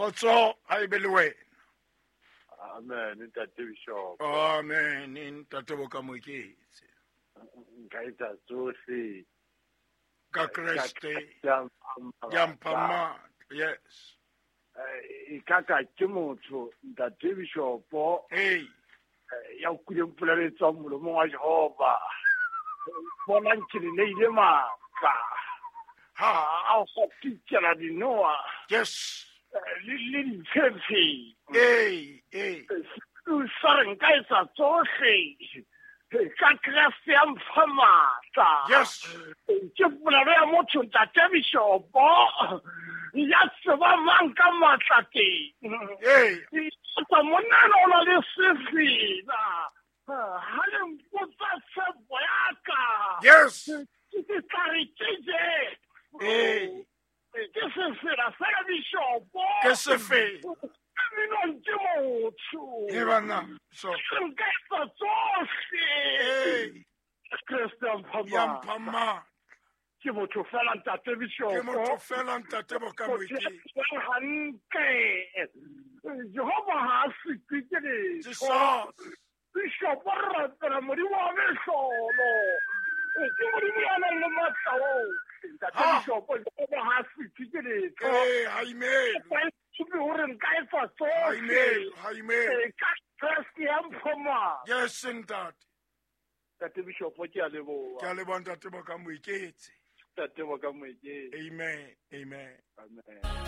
Kgotso ha e be le wena. Amen, ntate Bishop. Amen, ntate Bokamoeketse. Nka etsa tsohle ka Kreste ya mpha matla. Yes. E ka ka ke motho, ntate Bishop. Hey. Ya utlwileng polelo e tswang molomong wa Jehova. Bonang ke le neile matla. Ha. A go pitšela dinoa. Yes. Le ditshephe. Hey, hey. Sa re nka etsa tsohle ka Kreste ya mpha matla. Yes. Ke polelo ya motho, ntate Bishopo, ya tseba mang ka matla teng. Hey. Tsa monna o na le sefela. Ha le mpotsa tshepo ya ka. Yes. Ke tla re ke je. Hey. Ke sefela fela, Bishopo. Ke sefela. Minong ke motho. E bana. So. Nka etsa tsohle. Hey. Kreste ya mpha Ya mpha matla. Ke motho fela, ntate Bishopo. Ke motho fela, ntate Bokamoeketse. Hantle. Jehova ha a sitwe ke letho. Jesus. Bishop, re rapela Modimo wa mehlolo. Ke Modimo ya nang le matla ohle. Ntate Ha. Bishop, Jehova ha a sitwe ke letho. Hey, ha imelo. Supe hore nka etsa Ha tsohle. imelo, ha imelo. Ka Kreste ya mpha matla. Yes, ntate. Ntate Bishop, ke a leboha. Ke a leboha, ntate Bokamoeketse. Ntate Bokamoeketse. Amen. Amen. Amen.